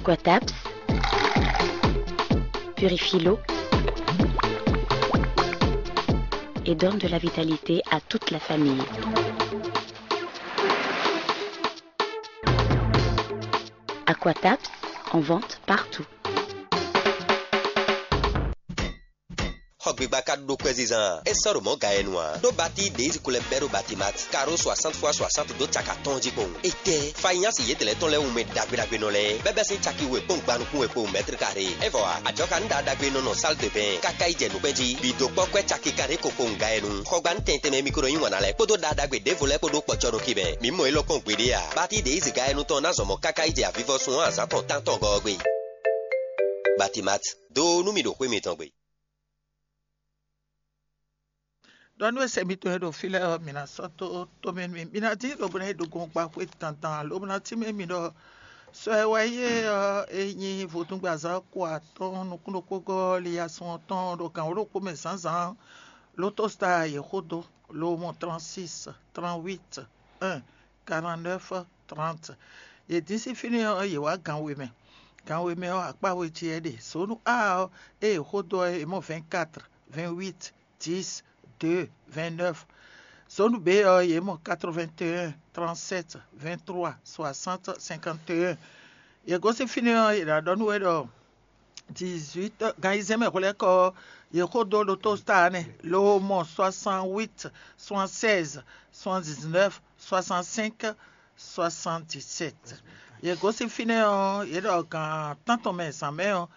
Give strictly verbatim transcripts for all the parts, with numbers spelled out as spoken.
Aquataps purifie l'eau et donne de la vitalité à toute la famille. Aquataps, en vente partout. Xɔ gbigba ka ɖó kwɛzizan a? É sɔ́ ɖo mɔ̌ ga e nu ǎ. Ɖó batí ɖě yi ko lɛ́ bɛ́ ɖó Batimat, karó soixante fois soixante dó caka tɔn jí kpowun. Étɛ́, fanyási yětɛn lɛ́ɛ tɔn lɛ́ɛ wú mɛ ɖagbe ɖagbe nɔ lɛ́ɛ, bɛ́bɛ́ sín caki we kpɔ́n gba nukún we kpowun mɛ̌tri karé. É vɔ ǎ, ajɔ̌ ka nú ɖa ɖagbe nɔ nɔ sál de bɛn, káká yi jɛ nukpɛ́n jí. Bǐ dó kpɔ́ kwɛ́ caki kanɖé ko kpowun ga e nu. Xɔgbanu tɛn tɛnmɛ e mi ko nɔ yí wǎn ná lɛ́ɛ kpódó ɖa ɖagbe ɖěvo lɛ́ɛ kpó ɖó kpɔ́ cɔ́ ɖo xi mɛ. Mǐ mɔ élɔ́ kpɔ́n gbeɖé ǎ. Batí ɖě yi zǐga e nu tɔn ná zɔn mɔ káká yi jɛ avivɔsun ɔ́ azǎn tɔn tántɔn gɔ́ ɔ́ gbe. Batimat, dó nú mì ɖo xwé mitɔn gbe. Ɖɔ nú e se mitɔn e ɖo fí lɛ́ɛ ɔ́, mǐ ná sɔ́ dó tomɛ nú mì. Mǐ ná dín ɖo bó ná yi ɖo gɔngba xwé dandan, lobo ná tínmɛ mì ɖɔ sɔ e wɛ yí é ɔ́, é nyí vodúngbe azǎn ko atɔ́ɔ́n nukún ɖokpó gɔ́ liyasun ɔ́ tɔn ɖo gǎn wǒ ɖokpó mɛ zǎnzǎn. Lotostar yě xó dó, lo mɔ trente-six, trente-huit, un, quarante-neuf, trente. Yě dín sín fínɛ́ ɔ́, yě wá gǎn we mɛ. Gǎn we mɛ ɔ́, akpá we jí wɛ é ɖe. Zǒnu A ɔ́, ée yě xó dó ɔ́, yě mɔ vingt-quatre, vingt-huit, dix, deux, vingt-neuf. Zone B ɔ́, yě mɔ quatre-vingt-un, trente-sept, vingt-trois, soixante, cinquante et un. Yě gosín fínɛ́ ɔ́, yě ná ɖɔ nú we ɖɔ dix-huit, gan ayizɛ́n mɛ hwelɛ́kɔ ɔ́, yě xo dó ɖo tósíta ɔ́ nɛ́, lo mɔ soixante-huit, soixante-seize, soixante-dix-neuf, soixante-cinq, soixante-dix-sept. Yě gosín fínɛ́ ɔ́, yě ɖɔ gan tántɔn mɛ zǎn mɛ ɔ́,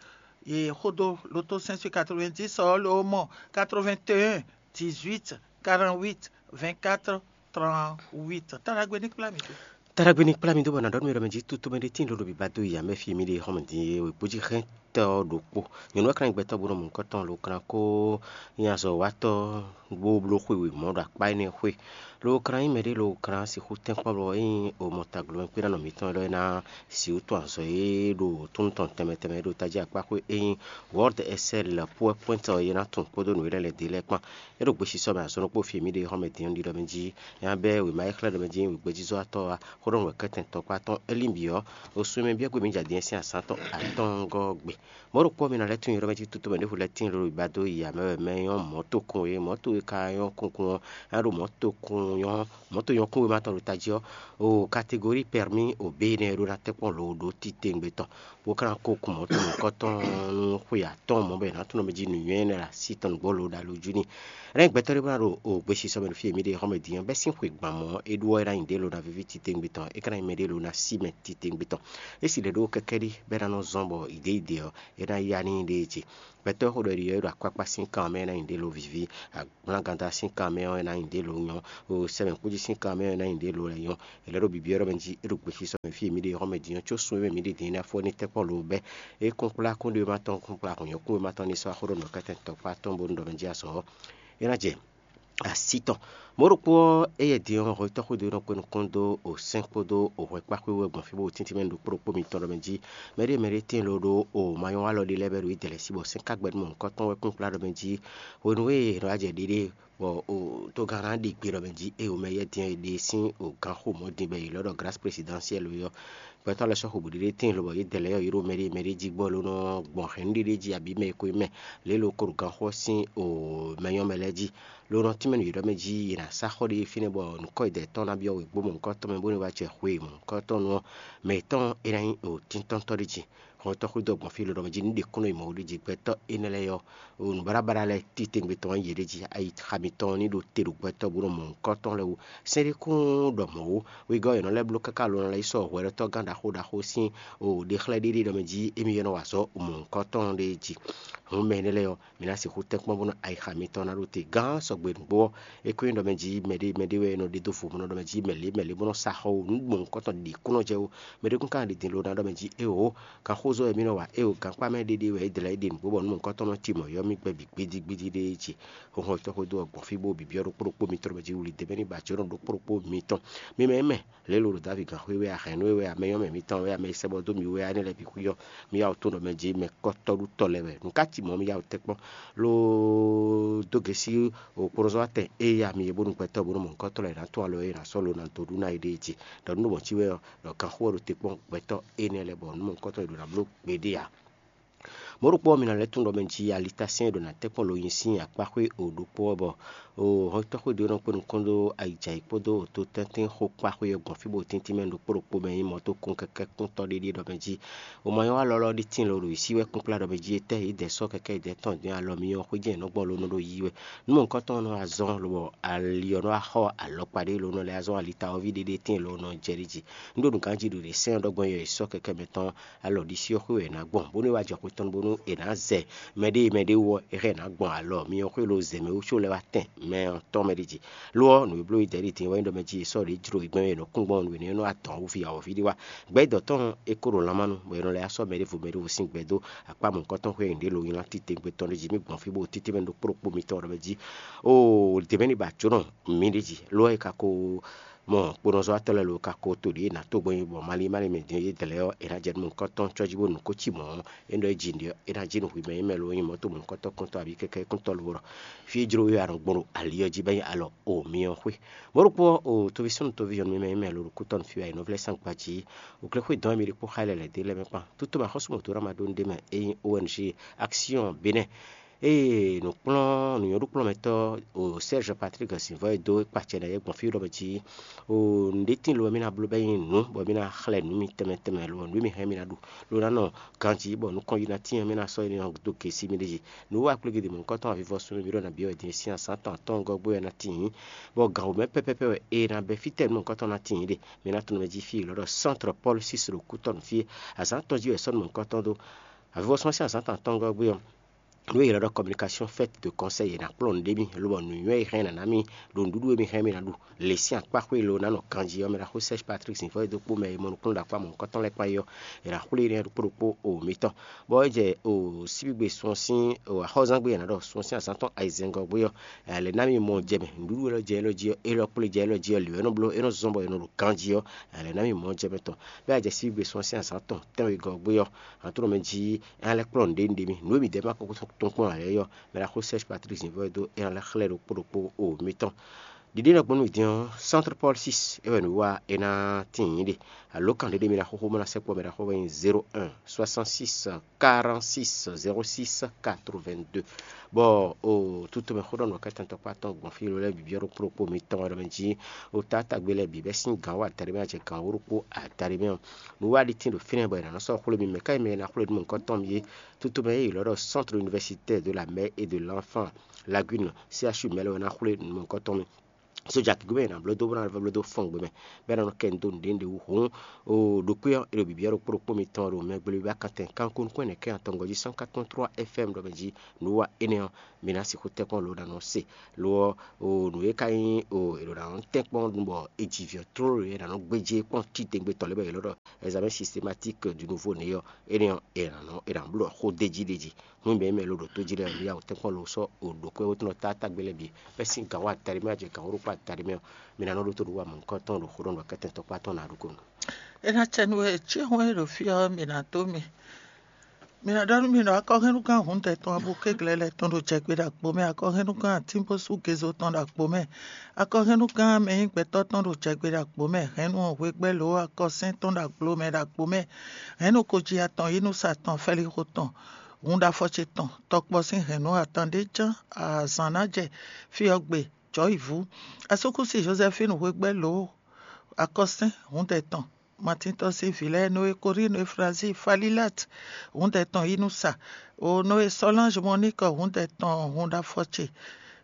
yě xo dó loto cinq cent quatre-vingt-dix ɔ́, lo mɔ quatre-vingt-un, dix-huit, quarante-huit, vingt-quatre, trente-huit. Tá ɖagbe ní kplá mì dó. Tá ɖagbe ní kplá mì dó bɔ nǎ ɖɔ nú mi ɖɔ mɛ jí tutomɛ ɖé tíin lolo bǐbá dó yi ǎ mɛ fí mì ɖe xɔmɛ din e wěgbó jí xɛ́ntɔ́ ɔ́ ɖokpó. Nyɔ̌nu ɔ́ ka nyí gbɛtɔ́ bó nɔ mɔ nukɔn tɔn lo klan kó nyí azɔ̌watɔ́ bó bló xwe wěmɔ ɖo akpá énɛ́ xwé. Lo klan nyí mɛɖé lo klan sixú tɛ́nkpɔ́n bɔ é nyí omɔ taglo mɛ kpé ná nɔ mǐtɔn lɔ é ná sixú tɔn azɔ̌ e ɖo túnú tɔn tɛnmɛ tɛnmɛ e ɖo tají akpá xwé é nyí World Excel Power Point ɔ́ é ná tunwun kpódó nǔ e lɛ́ lɛ̌ dó e lɛ́ɛ kpan. É ɖo gbesisɔ mɛ azɔn ɖokpó fí e mǐ ɖe xɔmɛ din ɔ́ ɖiɖɔ mɛ jí. Nya bɛ́ wěma e xlɛ́ ɖɔ mɛ jí nyí wěgbéjízɔ́watɔ́ ɔ́, xó ɖɔ nǔ wɛ kɛ́tɛn tɔkpá tɔn Elín byɔ́, osun e mɛ byɔ́ gbe mǐ jɛ din ɔ́ sín azǎn tɔn atɔ́ɔ́ngɔ́ ɔ́ gbe. Mɔ̌ ɖokpó ɔ́, mi ná lɛ́ tunwun yrɔ́ mɛ jí tutomɛ ɖěvo lɛ́ɛ tíin lóɖo bǐbá dó yi amɛ wɛ mɛ nyɔ́ mɔ̌tokun e mɔ̌to e ka nyɔ́ kunkun ɔ́, é ná ɖo mɔ̌tokun nyɔ́ mɔ̌tonyɔ́kúnwéma tɔn ɖo tají ɔ́, o kategóri pɛrmí o bé énɛ́ e ɖó ná tɛ́nkpɔ́n lǒ ɖó titewungbe tɔn, bó ka ná kó kun mɔ̌to nǔkɔntɔn nú xwe atɔ́ɔ́n mɔ̌ bɔ è nǎ tunwun mɛ jí nǔnywɛ́ énɛ́ ɖo así tɔn nǔgbó lǒ ɖo alɔ jí n'i. É ná nyí gbɛtɔ́ ɖé bó ná ɖo o gbesisɔ mɛ ɖo fí e mǐ ɖe xɔ́mɛ din ɔ́, bɛ́ sín xwe gban mɔ̌ é ɖó ɔ́, é ná nyí ɖě ló ná víví titewungbe tɔn, é ka ná nyí mɛ ɖé ló ná sí mɛ titewungbe tɔn. É si ɖě ɖó kɛkɛ́ ɖi bɔ é ná nɔ zɔ́n bɔ idě idě ɔ́, é ná yá n'i ɖée ce. Gbɛtɔ́ e xo ɖɔ è ɖi ɔ́, é ɖo akpákpá sín kan mɛ, é ná nyí ɖě ló víví. Agblanganda sín kan mɛ ɔ́, é ná nyí ɖě ló nyɔ́. O sɛmɛkújí sín kan mɛ ɔ́, é ná nyí ɖě ló lɛ́ nyɔ́. È lɛ́ ɖo bibyɔ́ ɖɔ mɛ jí é ɖo gbesisɔ mɛ fí e mǐ ɖe xɔ́mɛ din ɔ́, có sun e mɛ mǐ ɖe din é ná fɔ ní tɛ́nkpɔ́n ló bɛ́. É kún kplá kúnɖéwéma tɔn kún kplá hǔnyɔ́kúnwéma tɔn ní sɔ́ axó ɖɔ nǔ kɛ́tɛn tɔkpá tɔn bónú ɖɔ mɛ jí azɔ̌ ɔ́, é ná jɛ así tɔn. Mɔ̌ ɖokpó ɔ́, éyɛ́ din ɔ́, hwetɔ́ xwedó e nɔ kpé nukún dó o sɛ́n kpódó o hwɛkpá xwé wɛ gbɔn fí bó tíntín mɛ ɖo kplɔ́ kpó mitɔn ɖɔ mɛ jí mɛɖé mɛɖé tíin ló ɖó o manyɔ́walɔ ɖé lɛ́ɛ bɛ́ ɖo Izlayɛ́li sí bɔ sɛ́n ka gbɛ́ nú mɔ̌hunkɔtɔn wɛ kún kplá ɖɔ mɛ jí hwenu e è nɔ wá jɛ ɖiɖe bɔ o togán ná ɖi gbe ɖɔ mɛ jí e o mɛ yɛ́ din e ɖe sín o gǎnxomɔ din bɔ è ylɔ́ ɖɔ Grâce Présidentielle é ɔ́, gbɛtɔ́ lɛ́ɛ sɔ́ xo bǔɖiɖe tíin lobɔ yě dɛ lɛ́ɛ ɔ́, yě ɖo mɛɖé mɛɖé jí gbɔ ló nɔ́ gbɔn hɛ̌nnu ɖiɖe jí abǐ mɛ e ko nyí mɛ lě e lo ko ɖo ganxɔ ɔ́ sín o mɛ nyɔ́ mɛ lɛ́ɛ jí. Lo nɔ tínmɛ nú yě ɖɔ mɛ jí yě ná sá xɔ ɖé fínɛ́ bɔ nǔkɔ e dɛ tɔn ná byɔ́ wěgbó mɔ̌hunkɔtɔn mɛ bónú é wá jɛ xwe mɔ̌hunkɔtɔn nu ɔ́, mɛ yětɔn é ná nyí o tíntɔ́ntɔ́ ɖé jí. Xɔ́ntɔn xwedó gbɔn fí ló ɖɔ mɛ jí nǔ ɖě kún nɔ yi mɔ̌ ɖé jí gbɛtɔ́ énɛ́ lɛ́ɛ ɔ́, nǔblábla lɛ́ɛ titewungbe tɔn ɔ́ yě ɖ'é jí, ayi xa mitɔn ní ɖo te ɖo gbɛtɔ́ bó nɔ mɔ nǔkɔntɔn lɛ́ɛ wú. Sɛ́n ɖé kún ɖɔ mɔ̌ wú, wegɔ́ è nɔ lɛ́ bló káká lo nɔ lɛ́ yi sɔ́ hwɛɖɔtɔ́gán ɖaxó ɖaxó sín ɖexlɛ́ ɖé ɖé ɖɔ mɛ jí émí é nɔ wa azɔ̌ mɔ nǔkɔntɔn ɖé jí. Hǔn mɛ énɛ́ lɛ́ɛ ɔ́, mi ná sixú tɛ́n kpɔ́n bónú ayixa mitɔn ná ɖo te gán sɔgbe nǔgbó ɔ́, é ko nyí ɖɔ mɛ jí mɛɖé mɛɖé wɛ nɔ ɖe dó vo bó nɔ ɖɔ mɛ jí mɛ lě mɛ lě bó nɔ sa xɔ wú nú gbɔn nukɔntɔn ɖě kún nɔ jɛ ó. Mɛɖé kún ka ɖi din lo ná ɖɔ mɛ jí éeǒ, ganxózɔ́ wɛ mì nɔ wa éeǒ, gankpá mɛ ɖéɖé wɛ é dlɛ́ é ɖe nǔgbó bɔ nú mɔ̌hunkɔtɔn nɔ timɔ̌ yɔ́ mì gbɛ bǐ gbídígbídí ɖé é ce. Hɔnhɔn tɔn xwedó ɔ́ gbɔn fí bó bibyɔ́ ɖokpó ɖokpó mitɔn mɛ jí wuli dě mɛ ní ba jǒnɔ ɖokpó ɖokpó mitɔn. Mi mɛ mɛ lě lo ɖo David gǎnxwé wɛ a, hɛ̌nnu e wɛ a, mɛ nyɔ́mɛ mitɔn wɛ a, mɛ e sɛ bɔ dó mi wɛ a, énɛ́ lɛ́ɛ bǐ xwí ɔ́, mi yá wǔ tunwun ɖɔ mɛ jí mɛ kɔ́tɔ́ɖutɔ́ lɛ́ɛ wɛ. Nǔ ka Tí mɔ̌ mi yá wǔ tɛ́nkpɔ́n lóó dó gěsí òkplɔ́nzɔ́watɛn e ya mi é bónú gbɛtɔ́ bónú mɔ̌hunkɔtɔn lɛ́ɛ ná tún alɔ e è nǎ sɔ́ lo ná dó ɖu ná éɖée jí. Ɖɔ nú mɔ cí wɛ ɔ́, ɖɔ kanxó ɔ́ ɖo te kpɔ́n gbɛtɔ́ énɛ́ lɛ́ɛ bɔ nǔ mɔ̌hunkɔtɔn e ɖo ná bló gbeɖé ǎ. Mɔ̌ ɖokpó ɔ́, mi nɔ lɛ́ tunwun ɖɔ mɛ jí alitá sɛ́n e ɖo ná tɛ́nkpɔ́n lo nyi sín akpáxwé o ɖokpó ɔ́, bɔ o hɔntoxwé ɖé nɔ kpé nukɔn ɖó ayǐjǎyǐ kpódó ototɛ́ntin xó kpáxwé ɔ́ gbɔn fí bó tíntín mɛ ɖokpó ɖokpó mɛ nyí mɔ̌ tó kún kɛkɛ́ kúntɔ́ ɖé ɖíe ɖɔ mɛ jí O ma nyɔ́ wá lɔlɔ́ ɖi tínlɔ ɖo yǐsí wɛ kpínkplá ɖɔ mɛ jí etɛ́ yě dɛ sɔ́ kɛkɛ́ yě dɛ tɔn dín alɔ myɔ xwé jɛ́n yě nɔ gbɔn lo nɔ ɖo yiyi wɛ. Nú mɔ̌hunkɔtɔn nɔ wá zɔ́n lobɔ ali ɔ́ nɔ wá xɔ alɔkpa ɖé lo nɔ lɛ́ wá zɔ́n alita ɔ́ ví ɖé ɖé tɛ́n lo nɔ jɛ ɖi jí. Un ɖo nǔganjí ɖo ɖě sɛ́n ɔ́ ɖɔ gbɔn yɔ è sɔ́ kɛkɛ́ mɛ tɔn alɔ ɖisí ɔ́ xwé wɛ è nǎ gbɔn, bónú é wá jɛ xwé tɔn bónú è nǎ zɛ mɛ ɖé mɛ ɖé wú ɔ́, é hɛn è nǎ gbɔn alɔ myɔ xwé lo zɛ mɛ wú có lɛ́ wá tɛn mɛ ɔ́ tɔn mɛ ɖé jí. Lo ɔ́, nǔ e bló yi dɛ̌ ɖi din wɛ nyí ɖɔ mɛ jí è sɔ́ ɖě jló yi gbɛn é nɔ kún gbɔn nǔ énɛ́ nɔ atɔ̌ wú vǐ awɔ̌ví ɖé wá. Gbɛ̌ dɔ̌ tɔn é ko ɖo lanmá nu, bɔ è nɔ lɛ́ wá sɔ́ mɛɖěvo mɛɖěvo sín gbɛ dó akpá mɔ̌hunkɔtɔn xwé e nǔɖé lo nylá titewungbe tɔn ɖé jí mì gbɔn fí bó títí mɛ ɖokpó ɖokpó mitɔn ɖɔ mɛ jí. Oo, dě mɛ ní ba jǒnɔ mǐ ɖé jí, lo ɔ́, è ka ko mɔ kponɔzɔ́watɔ́ lɛ́ɛ lo ka ko to ɖě ná tó gbɔn nyi bɔ malín malín mɛ din yě dlɛ̌ ɔ́, è nǎ jɛ nú mɔ̌hunkɔtɔn cɔ́ jí bó nu kó cí mɔ̌ ɔ́, é nɔ é jí nǔɖé ɔ́, é ná jí nǔ hwi mɛ é mɛ lo nyí mɔ̌to mɔ̌hunkɔtɔn kúntɔ́ abǐ kɛkɛ́ kúntɔ́ lo ɖɔ fí e jló we wɛ a nɔ gbɔn ɖo ali ɔ́ jí bɔ é nyí alɔ o myɔ xwé. Mɔ̌ ɖokpó ɔ́, o toví súnnu toví nyɔ̌nu mɛ mɛ lo ɖo kútɔ́ nú fí wɛ è nɔ vlɛ́ sán gbají. Oklɛ́xwé dɔn e mi ɖi kpó xá lɛ́ lɛ̌ dé lɛ́ mɛ kpán. Tútú ma xɔ́sú mɔ̌ dó ná ma ɖó nú ɖé mɛ é nyí O N G Action Bénin. Ée nǔkplɔ́n nǔnywɛ́ɖúkplɔ́nmɛtɔ́ o Serge Patrick Zǐnvɔ́ e dó kpacɛ ná yɛ gbɔn fí ɖɔ mɛ jí o nǔɖé tín lo wɛ mì ná bló bɔ é nyí nǔ bɔ mì ná xlɛ́ nǔ mi tɛnmɛ tɛnmɛ lo nǔ e mi hɛn mì ná ɖu lo ná nɔ ganjí bɔ nukɔn yi ná tín ɔ́ mì ná sɔ́ énɛ́ ɔ́ dó gěsí mì ɖé jí. Nǔ wa kplé gědě mɔ̌hunkɔtɔn avivɔsún mì ɖɔ nǎ byɔ́ wɛ din sín azǎn tɔn atɔ́ɔ́ngɔ́ gbé wɛ ná tíin, bɔ gǎn wǒ mɛ pɛ́pɛ́pɛ́ wɛ è nǎ bɛ́ fítɛ́ nǔ mɔ̌hunkɔtɔn ná tíin ɖe. Mi ná tunwun mɛ jí fí e è ylɔ́ ɖɔ Centre Paul six ɖo kútɔ́ nú fí e azǎn tɔn jí wɛ è sɔ́ nǔ mɔ̌hunkɔtɔn dó. Avivɔsún ɔ́ sín azǎn tɔn atɔ́ɔ́ngɔ́ gbé ɔ́, nǔ e è ylɔ́ ɖɔ communication faite de conseil è nǎ kplɔ́n nǔɖé mì, lobɔ nǔnywɛ́ e hɛn ná ná mì ɖo nǔɖuɖu e mi hɛn mì ná ɖu lě sín akpáxwé e lo ná nɔ ganjí ɔ́ mɛ ɖaxó Serge Patrick Zǐnfɔ́n e dó kpó mɛ e mɔ nukúnnú ɖo akpá mɔ̌hunkɔtɔn lɛ́ɛ kpán é ɔ́, è nǎ xwlé énɛ́ ɖokpó ɖokpó o mitɔn. Bɔ é jɛ o síbígbe sun ɔ́ sín axɔ́zán gbé e è nǎ ɖɔ sun ɔ́ sín azǎn tɔn ayizɛ́ngɔ́ gbé ɔ́, lě ná mì mɔ jɛ mɛ, nǔɖuɖu élɔ́ jɛ élɔ́ jí ɔ́, élɔ́ kplé jɛ élɔ́ jí ɔ́, lǐwɛ́nɔ́ bló é nɔ́ zɔ́n bɔ è nɔ ɖo ganjí ɔ́, lě ná mì mɔ jɛ mɛ tɔn. Bɔ é jɛ síbígbe sun ɔ́ sín azǎn tɔn tɛ́nwegɔ́ gbé ɔ́, a nǎ tunwun mɛ jí é ná lɛ́ kplɔ́n nǔɖé nú ɖe mì. Nǔ e mǐ dɛ́ ma kɔkɔ́ tɔn kpɔ́n ǎ lɛ́ɛ ɔ́, mɛ ɖaxó Serge Patrick Zǐnvɔ́ e dó é ná lɛ́ xlɛ́ ɖokpó ɖokpó o mitɔn. Ɖiɖe nɔ gbɔn nú din ɔ́, Centre Paul six é wɛ nǔ wa é ná tíin ɖe. Alo kan ɖé ɖé mi ɖaxó xó mɔ ná sɛkpɔ mɛ ɖaxó wɛ nyí zéro un soixante-six quarante-six zéro six quatre-vingt-deux. Bɔ o tutomɛ xó ɖɔ nɔ kɛtɛn tɔkpá tɔn gbɔn fí lo lɛ́ɛ bǐ byɔ́ ɖokpó ɖokpó mitɔn wɛ ɖɔ mɛ jí o tátágbe lɛ́ɛ bǐ bɛ́ sín gǎn wá adaɖé mɛ jɛ gǎn wó ɖokpó adaɖé mɛ ɔ́. Nǔ wa ɖi tín ɖo fínɛ́ bɔ è nǎ nɔ sɔ́ xwlé mi mɛ ká yi mɛ e ná xwlé nú mɔ̌hunkɔtɔn mi é. Tutomɛ e è ylɔ́ ɖɔ Centre Universitaire de la Mère et de l'Enfant, Lagune, C H U mɛ lɛ́ɛ wɛ ná xwlé nú mɔ̌hunkɔtɔn mi. Sójà kígbe mɛ è nǎ bló dó bó ná bló dó fɔ́n gbe mɛ, bɔ é ná nɔ kɛ nu dó nǔɖé nǔɖé wú hǔn. O ɖokpé ɔ́, è ɖo bǐbí ɔ́ ɖokpó ɖokpó mitɔn ɖo mɛ gbléwíwá kantɛn kanko nukún ɛnɛ kɛ́n atɔngɔ́ jí cent quatre point trois F M ɖɔ mɛ jí nǔ wa énɛ́ ɔ́, mi ná sixú tɛ́nkpɔ́n lo ɖo nɔ se. Lo ɔ́, o nǔ e ka nyí o è ɖo ná nɔ tɛ́nkpɔ́n nu bɔ è ji vǐ ɔ́ tlóló è nǎ nɔ gbéjé kpɔ́n titewungbe tɔn lɛ́ɛ bɔ è ylɔ́ ɖɔ examen systématique du nouveau né ɔ́, énɛ́ ɔ́, è nǎ nɔ è nǎ bló xó d'é jí ɖ'é jí. Nú mɛ e mɛ lo ɖo tó jí lɛ́ɛ ɔ́, mi yá wǔ tɛ́nkpɔ́n lo sɔ́ o ɖokpé wótúnɔ tátágbe lɛ́ɛ bǐ bɛ́ sín gǎn wá adaɖé mɛ wá jɛ gǎn wó ɖokpó adaɖé mɛ ɔ́, mi ná nɔ ɖótó nǔ wa mɔ̌hunkɔtɔn ɖo xó ɖɔ nǔ wa kɛ́tɛn tɔkpá tɔn ná ɖokúnu. É ná cɛ nú we cí hun e ɖo fí ɔ́, mi ná dó mi. Mi ná ɖɔ nú mi ɖɔ akɔhɛnnugán hǔndɛ tɔn abú kéglɛ́ lɛ́ɛ tɔn ɖo jɛgbé ɖo agbo mɛ, akɔhɛnnugán atínbósú gezo tɔn ɖo agbo mɛ, akɔhɛnnugán mɛ nyí gbɛtɔ́ tɔn ɖo jɛgbé ɖo agbo mɛ, hɛ̌nnu hwegbɛ́ lǒ akɔsɛ́n tɔn ɖo agbo mɛ ɖo agbo mɛ, hɛ̌nnu koji atɔn yínúsa tɔn fɛ́líxo tɔn hun ɖo afɔ ce tɔn, tɔkpɔ sín hɛ̌nnu atan ɖé ján azǎn ná jɛ fí ɔ́ gbe jɔ̌ yi vú. Asúkúsi Jozɛfínu hwegbɛ́ lǒ akɔsɛ́n hǔndɛ tɔn. Matín tɔn sín vǐ lɛ́ɛ Noe Korínu Eflazíi Falílat hǔndɛ tɔn yínúsa, o Noe Sɔlánj Mɔníkɔ hǔndɛ tɔn hun ɖo afɔ ce,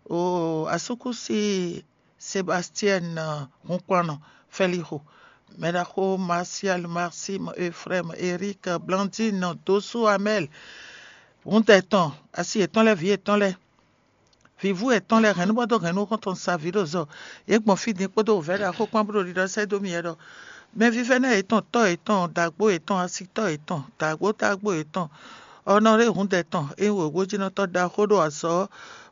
o asúkúsi Sebastiɛn hunkplɔ́nnɔ Fɛlixo, mɛɖaxó Marsial, Marsi, Efrɛ́m, Erik, Blandín, Dosú Amɛl hǔndɛ tɔn, asi yětɔn lɛ́ɛ, vǐ yětɔn lɛ́ɛ, vǐvú yětɔn lɛ́ɛ, hɛ̌nnúbɔ́dó hɛ̌nnu xɔ́ntɔn sa vǐ ɖo zɔ. Yě gbɔn fí din kpódó wǔvɛ́ ɖaxó kpán bó ɖo ɖiɖɔ sɛ́ dó mì wɛ ɖɔ: Mɛvívɛ́ná yětɔn, tɔ́ yětɔn, dǎgbó yětɔn, asitɔ́ yětɔn, dǎgbó tágbó yětɔn, ɔnɔɖé hǔndɛ tɔn, é nyí wěwójínɔtɔ́ ɖaxó ɖo azɔ̌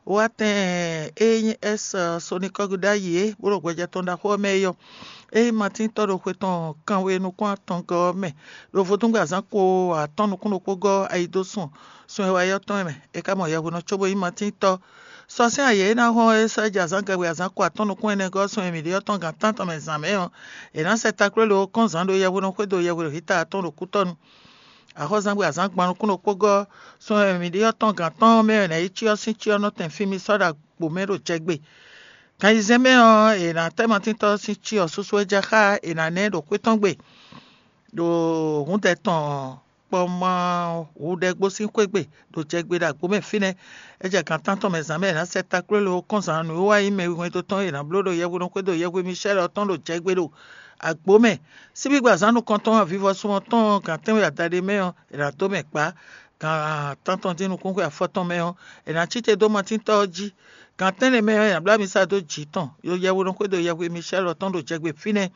bó wá tɛn e nyí S Sonikɔ́gu ɖ'ayǐ é, bó ɖo hwɛjɛ tɔn ɖaxó ɔ́ mɛ é ɔ́, é nyí Matín tɔ́ ɖo xwe tɔn kanwe nukún atɔngɔ́ ɔ́ mɛ, ɖo vodúngbe azǎn ko atɔ́ɔ́n nukún ɖokpó gɔ́ ayi dó sun sun e wá yi ɔ́ tɔn mɛ. É ka mɔ yɛhwenɔ cóbó nyí Matín tɔ́. Sɔ sín ayǐ e ná hɔn é sɔ́ jɛ azǎn gɛgbɛ azǎn ko atɔ́ɔ́n nukún ɛnɛ gɔ́ sun e mǐ ɖe ɔ́ tɔn gan tántɔn mɛ zǎn mɛ ɔ́, è nǎ sɛ taklwélé ɔ́ kɔn zǎn ɖo yɛhwenɔ xwédo yɛhweɖoxítawǔ tɔn ɖo kútɔ́nu. Axɔ́zangbe azǎn gban nukún ɖokpó gɔ́ sun e mǐ ɖe ɔ́ tɔn gan tɔn mɛ è nǎ yi cyɔ sín cyɔ nɔ tɛn fí mì sɔ́ ɖo agbo mɛ ɖo jɛgbe. Kan ayizɛ́n mɛ ɔ́, è nǎ tɛ́ Matíntɔ́ sín cyɔ susu e jɛ xá è nǎ ná ɛ ɖo xwé tɔn gbe, ɖo hǔndɛ tɔn kpɔ́ má hudɛgbó sín xwé gbe ɖo jɛgbe ɖo agbo mɛ fínɛ́. É jɛ gan tántɔn mɛ zǎn mɛ è nǎ sɛ taklwélé ɔ́ kɔn zǎn nǔwiwa e nyí mɛ wihwɛndo tɔn e è nǎ bló ɖo yɛhweɖɔxwé ɖo yɛhwe Micɛ́l ɔ́ tɔn ɖo jɛgbe ɖo agbo mɛ. Síbígbe azǎn nukɔntɔn avivɔsun ɔ́ tɔn gan tɛ́nwe adaɖé mɛ ɔ́, è nǎ dó mɛ kpá. Gan tántɔn dín nukúnxwe afɔtɔn mɛ ɔ́, è nǎ cí te dó Matíntɔ́ ɔ́ jí. Gan tɛ́nnɛ mɛ ɔ́, è nǎ bló amisa dó jǐ tɔn, ɖo yɛhweɖɔxwé ɖo yɛhwe Micɛ́l ɔ́ tɔn ɖo jɛgbe fínɛ́.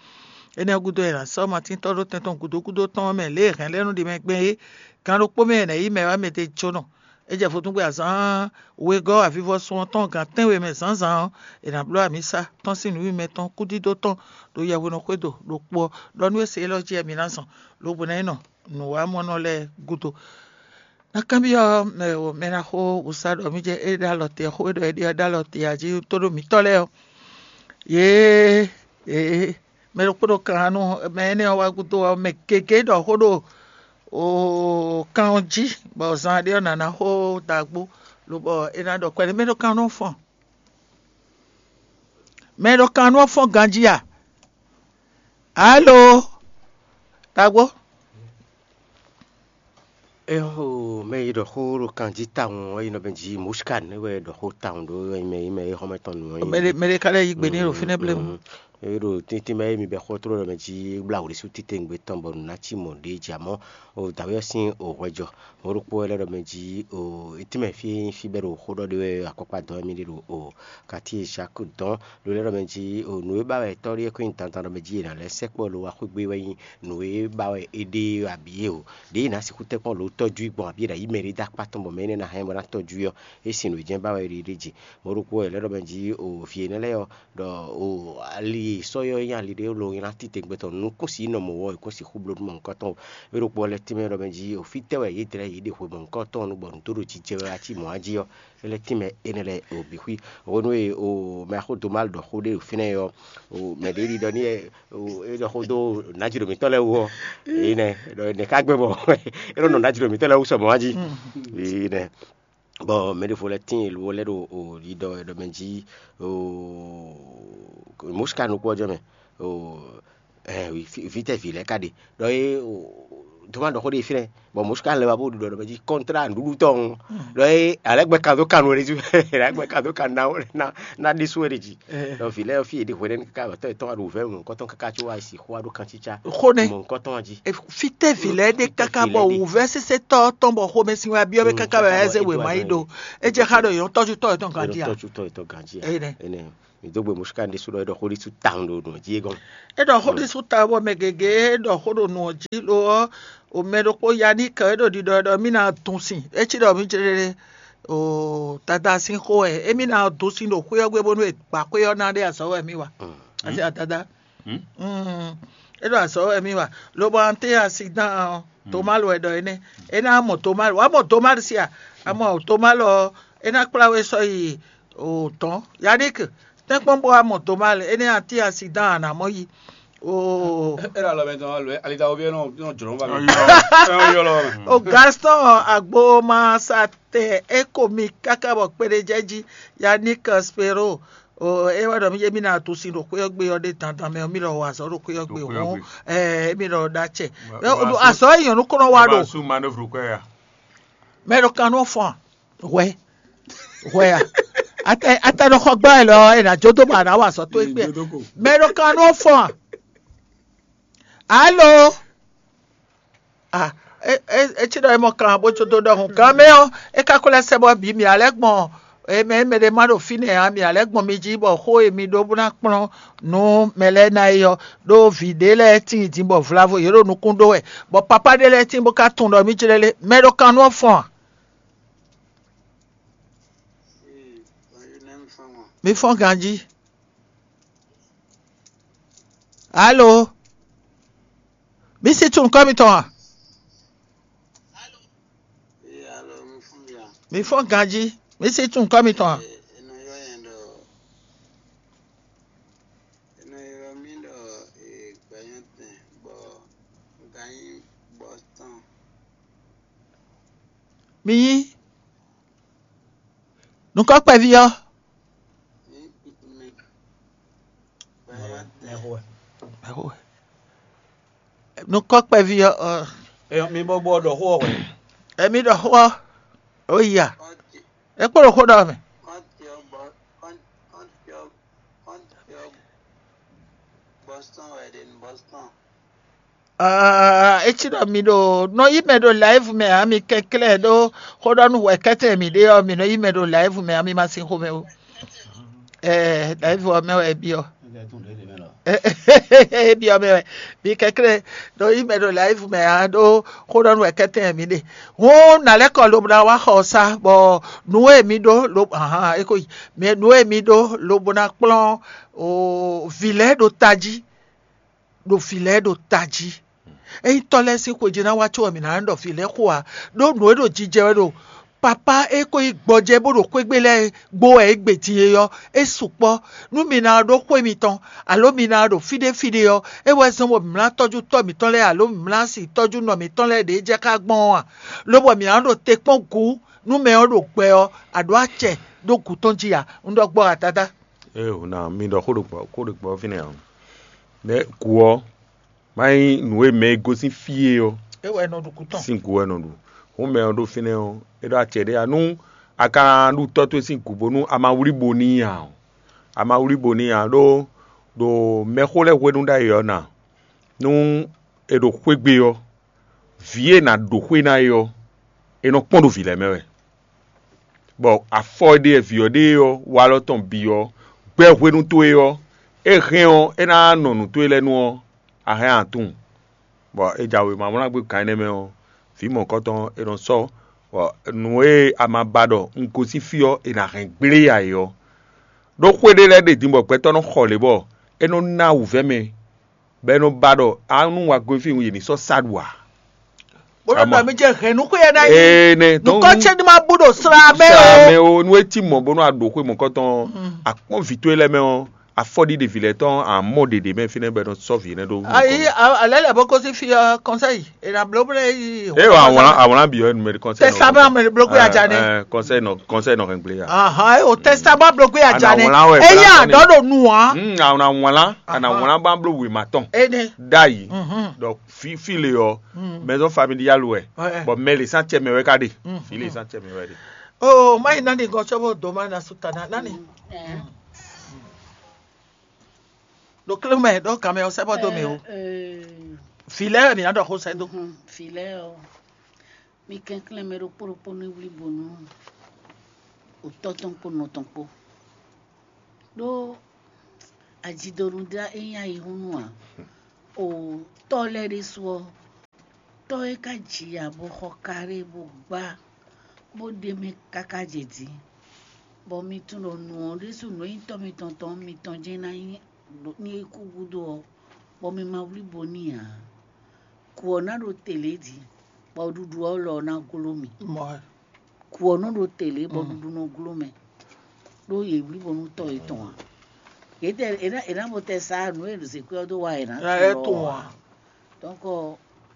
Énɛ́ ɔ́ gúdo, è nǎ sɔ́ Matíntɔ́ ɖó tɛn tɔn gǔdo gúdo tɔn ɔ́ mɛ lě e hɛ̌nlɛ́nú ɖi mɛ gbɛn é. Gan ɖokpó mɛ è nǎ yí mɛ wá mɛ ɖé jónɔ. É jɛ vodúngbe azǎn wegɔ́ avivɔsun ɔ́ tɔn gan tɛ́nwe mɛ zǎnzǎn ɔ́, è nǎ bló amisa tɔn sín nǔwiwa tɔn kúdídó tɔn ɖo yɛhweɖɔxwé ɖo ɖokpó ɔ́, ɖɔ nú é se élɔ́ jí wɛ mi ná zɔn, lobo ná yi nɔ nǔwamɔnɔ lɛ́ɛ gúdo. Ná kanbyɔ́ mɛ e mɛ ná xó wǔsá ɖɔ mì jɛ é ɖó alɔ te ɔ́, xó e ɖɔ é ɖe ɔ́ ɖó alɔ te ǎ jí tó ɖo mǐtɔn lɛ́ɛ ɔ́, yě e mɛ ɖokpó ɖo kan nú mɛ énɛ́ ɔ́ wá gúdo ɔ́, mɛ gěgé ɖɔ xó ɖo kan ɔ́ jí, bɔ zan ɖé ɔ́ nǎ ná xó dǎgbó, lobɔ é ná ɖɔ kpɛɖé mɛ ɖo kan nú fɔn. Mɛ ɖo kan nú ɔ́ fɔ́n ganjí a? Alo, dǎgbó. Éhó, mɛ e ɖɔ xó ɖo kan jí tawun ɔ́, é nɔ bɛn jí Moskan é wɛ ɖɔ xó tawun ɖó mɛ e mɛ e xɔmɛ tɔn nǔ ɔ́. Mɛ ɖé mɛ ɖé ka lɛ́ yí gbe n'i ɖo fínɛ́ blé mu. É ɖo tíntín mɛ e mi bɛ xó tló ɖɔ mɛ jí blá wǔɖésú títewungbe tɔn bɔ nǔ ná cí mɔ̌ ɖě jí amɔ́ o dǎwe ɔ́ sín o hwɛjɔ. Mɔ̌ ɖokpó wɛ lɛ́ ɖɔ mɛ jí o etínmɛ fí e nyí fí bɛ́ ɖo xó ɖɔ ɖé wɛ akɔkpa dɔn wɛ mì ɖe ɖo o kati e Zaki dɔn ɖo lɛ́ ɖɔ mɛ jí o nǔ e ba wɛ tɔ́ ɖé e ko nyí dandan ɖɔ mɛ jí è nǎ lɛ́ sɛkpɔ́ lo wá xwé gbé wɛ nyí nǔ e ba wɛ é ɖe abǐ é o. Ɖěe è nǎ sixú tɛ́nkpɔ́n lǒ tɔ́jú i gbɔn abǐ è nǎ yí mɛ ɖé dó akpá tɔn bɔ mɛ énɛ́ ná hɛn bó ná tɔ́jú i ɔ́, é sin nǔ e jɛ́n ba wɛ é ɖe ɖ'é jí. Mɔ̌ ɖokpó wɛ è lɛ́ ɖɔ mɛ jí o vǐ énɛ́ lɛ́ɛ ɔ́ ɖɔ o ali e sɔ́ ɔ́ nyí ali ɖé lo nylá titewungbe tɔn nukúnsin nɔ mɔ̌ ɔ́, è kún sixú bló nú mɔ̌hunkɔtɔn ó. É ɖokpó ɔ́ lɛ́ tínmɛ ɖɔ mɛ jí o fítɛ́ wɛ yě dlɛ́ yě ɖe hwe mɔ̌hunkɔtɔn ɔ́ nu bɔ nǔ dó ɖo jijɛ wɛ wá cí mɔ̌ jí ɔ́, é lɛ́ tínmɛ énɛ́ lɛ́ɛ o bǐ xwí. Hwenu e o mɛ axó Domal ɖɔ xó ɖé ɖo fínɛ́ ɔ́, o mɛ ɖě ɖi ɖɔ n'i wɛ o é ɖɔ xó dó nǎjlǒ mǐtɔn lɛ́ɛ wú ɔ́, é nɛ́ ɖɔ nɛ̌ ká gbɛ́ bɔ é nɔ nɔ nǎjlǒ mǐtɔn lɛ́ɛ wú sɔ mɔ̌ wá jí. É nɛ́ bɔ mɛ ɖěvo lɛ́ɛ tíin lo lɛ́ ɖo o ɖiɖɔ ɖɔ mɛ jí o mɔ̌ sika nukún ɔ́ jɔ mɛ o vítɛ́ vǐ lɛ́ɛ ka ɖe ɖɔ é o dó má ɖɔ xó ɖé fínɛ́ bɔ mɔ̌ sika lɛ́ wá bó ɖiɖɔ ɖɔ mɛ jí kɔntrá nǔɖuɖu tɔn ɖɔ é alɛ́ gbɛ kan dó kan nú é ɖésú alɛ́ gbɛ kan dó kan ná ná ná ɖésú é ɖe jí. Ɖɔ vǐ lɛ́ɛ ɔ́ fí yě ɖe hwɛɖɛ́nu káká wɛ tɔ́ yětɔn wá ɖo wǔvɛ́ mɔ̌hunkɔtɔn káká có wá yi sixú wá ɖó kancícá Xó nɛ́. Mɔ̌hunkɔtɔn jí. Fítɛ́ vǐ lɛ́ɛ ɖe káká bɔ wǔvɛ́ sésé tɔ́ tɔn bɔ xomɛsin wɛ byɔ́ mɛ káká wɛ ɛ zé wěma yi ɖo. É jɛ xá ɖɔ yě nɔ tɔ́jú tɔ́ yětɔn ganjí a? Tɔ́jú tɔ́ yětɔn ganjí a? Énɛ́. Énɛ́. Mi dó gbe mɔ̌ ká ɖésú ɖɔ é ɖɔ xó ɖésú tawun ɖo nǔ jí é gɔ́n. É ɖɔ xó ɖésú tawun bɔ mɛ gěgé é ɖɔ xó ɖo nǔ ɔ́ jí lo ɔ́, o mɛ ɖokpó ya ní kɛ é ɖo ɖiɖɔ ɖɔ mí ná dun sin. É cí ɖɔ mí jlé o dada sín xó wɛ. Émí ná dun sin ɖo xwé ɔ́ gbe bónú è gbǎ xwé ɔ́ ná ɖe azɔ̌ wɛ mí wa. Asi adada. Mm. É ɖo azɔ̌ wɛ mí wa. Lobo ante asi dán ɔ́, Tomalu wɛ ɖɔ énɛ́. É ná mɔ Tomalu. Wǎ mɔ Tomalu sia. A mɔ Tomalu ɔ́, é ná kplá we sɔ́ yi o tɔn. Yannick, tɛ́nkpɔ́n bó wá mɔ Tomalu. Énɛ́ ati asi dán a nǎ mɔ yi. O É ɖo alɔ mɛ tɔn alɔ alita wo bi nɔ nɔ jlɔn ba mi. Ayɔ. Ɛn yɔlɔ. O Gaston Agboma sa tɛ é ko mi káká bɔ kpeɖéjɛjí Yannick Spero. O é wɛ ɖɔ mí yé mí ná tu sin ɖo xwé ɔ́ gbe ɔ́ ɖé dandan mɛ ɔ́ mí lɔ wɔ azɔ̌ ɖo xwé ɔ́ gbe Ɖo xwé ɔ́ hɔn. Gbe. Ɛɛ mí lɔ ɖó acɛ. Mɛ Mɛ o ɖo azɔ̌. Azɔ̌ yi nyɔ̌nu kɔnɔ wa ɖo. Su manœuvre kɔ ya. Mɛ ɖo kan nɔ fɔn hwɛ hwɛ ya. Ata ata nɔ xɔ gbá ɛ lɔ ɛ nà jó dó bɔ àná wà sɔ tó é gbé. Jó dó kò. Mɛ ɖo kan nɔ fɔn. Alo. Ah, e e e tsi ɖɔ e mɔ kan bó tso dó ɖɔhun kan mɛ ɔ́, e ka ko lɛ sɛ bɔ bǐ mǐ alɛ gbɔn e mɛ e mɛ ɖé ma ɖo fínɛ́ ǎ, mǐ alɛ gbɔn mi jí bɔ xó e mi ɖó bó ná kplɔ́n nú mɛ lɛ́ɛ ná é ɔ́, ɖó vǐ ɖé lɛ́ɛ tíin dín bɔ vlavo yě ɖo nukún ɖó wɛ, bɔ papá ɖé lɛ́ɛ tíin bó ka tunwun ɖɔ mí jlɛ́ lé. Mɛ ɖo kan nú ɔ́ fɔn a? Mi fɔ́n ganjí. Alo? Mi si tunwun kɔ́ mitɔn a? Mi fɔ́n ganjí. Mi si tunwun kɔ́ mitɔn a? È nɔ ylɔ́ nyɛ ɖɔ, è nɔ ylɔ́ mì ɖɔ, ee, gbɛ̌nyɔ́tɛn, bɔ un ka nyí Boston. Mi nyí nukɔn kpɛví ɔ́. Nukɔn kpɛví ɔ́, ɔ, Eyɔn, mi bɔ bɔ ɖɔ xó ɔ́ hwɛ. Emi ɖɔ xó ɔ́, ó yi a? É kpo ɖo xó ɖɔ mɛ. Aa, é cí ɖɔ mi ɖo nɔ yí mɛ ɖo live mɛ ǎ, mi kɛnklɛ́n ɖó xó ɖɔ nú hwɛkɛ́tɛn mǐ ɖe ɔ́, mi nɔ yí mɛ ɖo live mɛ ǎ, mi ma sin xomɛ ó. Ɛɛ, live ɔ́ mɛ wɛ é byɔ́. É byɔ́ mɛ wɛ. Mi kɛnklɛ́n ɖó yí mɛ ɖo live mɛ ǎ, ɖó xó ɖɔ nú hwɛkɛ́tɛn mǐ ɖe. Hǔn nǎ lɛ́ kɔ lobo ná wá xɔ ɔ́ sá, bɔ nǔ e mi ɖó lo ahan é ko yi. Mɛ nǔ e mi ɖó lobo ná kplɔ́n o vǐ lɛ́ɛ ɖo tají. Ɖo vǐ lɛ́ɛ ɖo tají. Ényí tɔ́ lɛ́ɛ sín xwe jí ná wá có wɛ mǐ ná ɖɔ vǐ lɛ́ɛ xo ǎ, ɖó nǔ e ɖo jijɛ wɛ ɖo papá e ko nyí gbɔjɛ́ bó ɖo xwé gbe lɛ́ɛ gbo wɛ é gbe din é ɔ́, é sukpɔ́. Nú mi ná ɖó xwé mitɔn, alo mi ná ɖo fí ɖé fí ɖé ɔ́, é wɛ zɔ́n bɔ mǐ ná tɔ́jú tɔ́ mǐtɔn lɛ́ɛ, alo mǐ ná si tɔ́jú nɔ mǐtɔn lɛ́ɛ ɖě jɛ xá gbɔn ɔ́ a? Lobɔ mǐ ná ɖo te kpɔ́n gǔ nú mɛ ɔ́ ɖo gbɛ ɔ́, a ɖǒ acɛ ɖó gǔ tɔn jí a? Un ɖɔ gbɔ a, Dadá. Ée ná mi ɖɔ xó ɖo gbɔ xó ɖo gbɔ fínɛ́ ǎ. Nɛ̌ gǔ ɔ́, má nyí nǔ e mɛ e gosín fí é ɔ́ É wɛ nɔ ɖu kú tɔn. Sín gǔ wɛ nɔ ɖu. Hǔn mɛ ɔ́ ɖo fínɛ́ ɔ́, é ɖó acɛ ɖé ǎ. Nú a ka ɖu tɔ́ towe sín gǔ bónú a ma wlí bo n'i ǎ ɔ́, a ma wlí bo n'i ǎ ɖó ɖo mɛxó lɛ́ɛ hwenu ɖ'ayǐ ɔ́ ná, nú è ɖo xwé gbe ɔ́, vǐ e è nǎ ɖǒ xwé ná é ɔ́, è nɔ kpɔ́n ɖo vǐ lɛ́ɛ mɛ wɛ. Bɔ afɔ e ɖe vǐ ɔ́ ɖe ɔ́, walɔ tɔn bǐ ɔ́, gbɛ́ hwenu towe ɔ́, é hɛn ɔ́, é ná nɔ nǔ towe lɛ́ɛ nu ɔ́, a hɛn a tunwun. Bɔ è jɛ wěma wlán gbé kan énɛ́ mɛ ɔ́, vǐ mɔ̌hunkɔtɔn e nɔ sɔ́, bɔ nǔ e a ma ba ɖɔ un gosín fí ɔ́, è nǎ hɛn gblé ǎ é ɔ́, ɖó xwé ɖé lɛ́ɛ ɖe din bɔ gbɛtɔ́ nɔ xɔ lě bɔ é nɔ ná wǔvɛ́ mɛ, bɔ é nɔ ba ɖɔ a nú wa gosín fí yě ní sɔ́ sá ɖu ǎ. Bó nɔ Àmọ́- ɖɔ mi jɛ hɛn nú xwé ɛ ná yi. Ee, nɛ, donc, Nukɔ ce ní ma bú ɖo sra mɛ sra o. Mɛ o, nú e cí mɔ bónú a ɖǒ xwé mɔ̌kɔtɔn, Mm. Akpɔ́n vǐ towe lɛ́ɛ mɛ ɔ́, afɔɖiɖe vǐ lɛ́ɛ tɔn a mɔ ɖeɖe mɛ fínɛ́ bɔ è nɔ sɔ́ vǐ énɛ́ ɖó. Ayi, alɛ lɛ bó kó sí fi ɔ kɔnsɛyi, e na bló blé yi. E wa awlan awlan bi ɔ numeri kɔnsɛyi. Testament mɛ bló gbé aja ne. Kɔnsɛyi nɔ kɔnsɛyi nɔ hɛn gblé ya. Ahan, e o testament bló gbé aja ne. Ana awlan wɛ Eya blá dɔ ɖo nu wa. Hmm, awlan awlan ana Ahan. Awlan ba bló wema tɔn. Ene. Dayi. Mhm. Donc fi fi le ɔ, Mm. Maison familiale wɛ. Ouais. Bon, mais les centième wɛ ka de. Mm. Fi les centième wɛ de. Oh, mai nani gɔtsɔ bo doma na sutana nani. Eh. Ɖo klé mɛ ɖo gamɛ ɔ́ sɛ́ bɔ dó mɛ o. Vǐ lɛ́ɛ wɛ mǐ ná ɖɔ xó sɛ́ dó. Vǐ lɛ́ɛ ɔ́, mi kɛnklɛ́n mɛ ɖokpó ɖokpó ní wlí bo nú otɔ́ tɔn kpó nɔ tɔn kpó. Ɖó ajidonu dá é nyí ayihúnú ǎ. O tɔ́ lɛ́ɛ ɖésú ɔ́, tɔ́ e ka ji ya bó xɔ kaɖé bó gbá bó ɖe mɛ káká jɛ din, bɔ mi tunwun ɖɔ nǔ ɔ́ ɖésú nǔ e nyí tɔ́ mitɔn tɔn ɔ́, mitɔn jɛ́n ná nyí ní é kú gúdo ɔ́, bɔ mi ma wlí bo n'i ǎ. Kǔ ɔ́ ná ɖo tɛ̌lɛ́ din, bɔ ɖuɖu ɔ́ lɔ ná gló mi. Kǔ ɔ́ nɔ ɖo tɛ̌lɛ́, bɔ ɖuɖu nɔ gló mɛ, ɖó yě wlí bo nú tɔ́ yětɔn ǎ. Yě tɛ è ná è ná bo tɛ sa nǔ e zěkwɛ́ ɔ́ dó wa è nǎ Ná é tunwun ǎ. Donc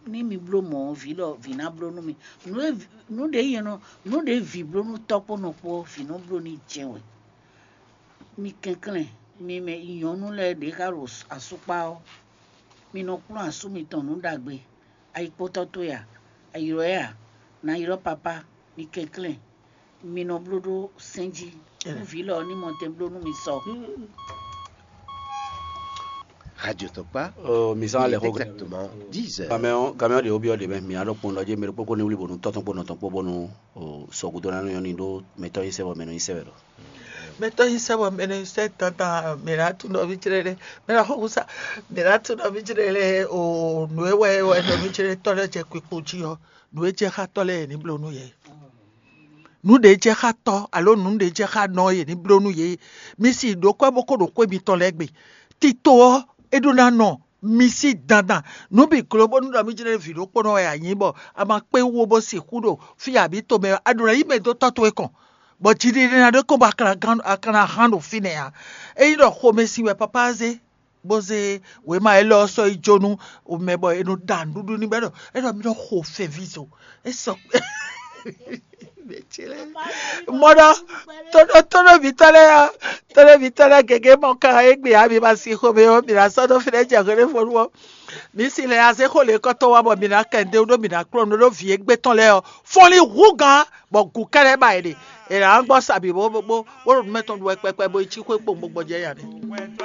ní mi bló mɔ̌ ɔ́, vǐ lɔ vǐ ná bló nú mi. Nǔ e nǔ ɖě nyɛ nɔ nǔ ɖě vǐ bló nú tɔ́ kpó nɔ kpó ɔ́, vǐ nɔ bló n'i jɛ́n wɛ. Mi kɛnklɛ́n, mi mɛ nyɔ̌nu lɛ́ɛ ɖě ká ɖo asúkpá ɔ́, mi nɔ kplɔ́n asú mitɔn nǔ ɖagbe. Ayikpɔ́tɔ́ towe a? A ylɔ́ ɛ a? Nǎ ylɔ́ papá, mi kɛnklɛ́n, mi nɔ bló ɖó sɛ́n jí. Nú vǐ lɔ ɔ́ ní mɔ tɛn bló nú mi sɔ. Radio Tɔkpa. Oh, mi zán lɛ xó. Exactement dix heures. Gamɛ ɔ́, gamɛ ɔ́ ɖe wo byɔ́ ɖe mɛ, mi á ɖɔ kpɔn ɖɔ jɛ mɛ ɖokpó kó ní wlí bónú tɔ́ tɔn kpó nɔ tɔn kpó bónú o sɔgúdó ná nyɔ́ ní ɖó mɛtɔ́ nyi sɛ́ bɔ mɛ nɔ nyi sɛ́ wɛ ɖɔ. Mɛtɔ́ nyi sɛ́ bɔ mɛ nɔ nyi sɛ́ dandan, mɛ ná tún nɔ ví jlé lé, mɛ ná xó kúsa, mɛ ná tún nɔ ví jlé lé o nǔ e wɛ wɛ nɔ ví jlé tɔ́ lɛ́ jɛ kpikpo jí ɔ́, nǔ e jɛ xá tɔ́ lɛ́ɛ yě ní bló nú yě. nǔ ɖě jɛ xá tɔ́ alo nǔ ɖě jɛ xá nɔ e yě ní bló nú yě. Mi si ɖǒ kwɛ́ bó ko ɖo xwé mitɔn lɛ́ɛ gbe. Tito ɔ́, é ɖó ná nɔ mi sí dandan. Nǔ bǐ gló bónú ɖɔ mí jlɛ́ vǐ ɖokpónɔ wɛ a nyǐ bɔ a ma kpé wú ó bó sixú ɖo fí abǐ tomɛ ɔ́, a ɖǒ ná yí mɛ dó tɔ́ towe kɔn, bɔ jiɖiɖe ná ɖó kɔn bɔ a ka ná hán ɖo fínɛ́ ǎ. Ényí ɖɔ xomɛsin wɛ papá zé, bó zé wěma élɔ́ ɔ́ sɔ́ yi jó nú mɛ bɔ è nɔ ɖa nǔɖuɖu n'i bɔ é ɖɔ é ɖɔ mì nɔ xo fɛnvizo. É sɔ mɔɖɔ tónɔvítɔ́ lɛ́ɛ ɔ́, tónɔvítɔ́ lɛ́ɛ gěgé mɔ ká égbé ǎ, mi ma sin xomɛ ɔ́, mi ná sɔ́ dó fínɛ́ jɛ hwelefonu ɔ́. Mi si lɛ azé xo lě kɔ́tɔ́ wá bɔ mi ná kɛ ndé ɖó mi ná kplɔ́n nú ɖó vǐ égbé tɔn lɛ́ɛ ɔ́, fɔ́nlin hú gǎn bɔ gǔ kɛ́ɖɛ́ ba yě ɖe. È nǎ gbɔ sa bǐ bó bó bó ɖo nǔ mɛ tɔn ɖu wɛ kpɛkpɛ bó yi cí xwé kpowun bó gbɔjɛ́ nya ɖe.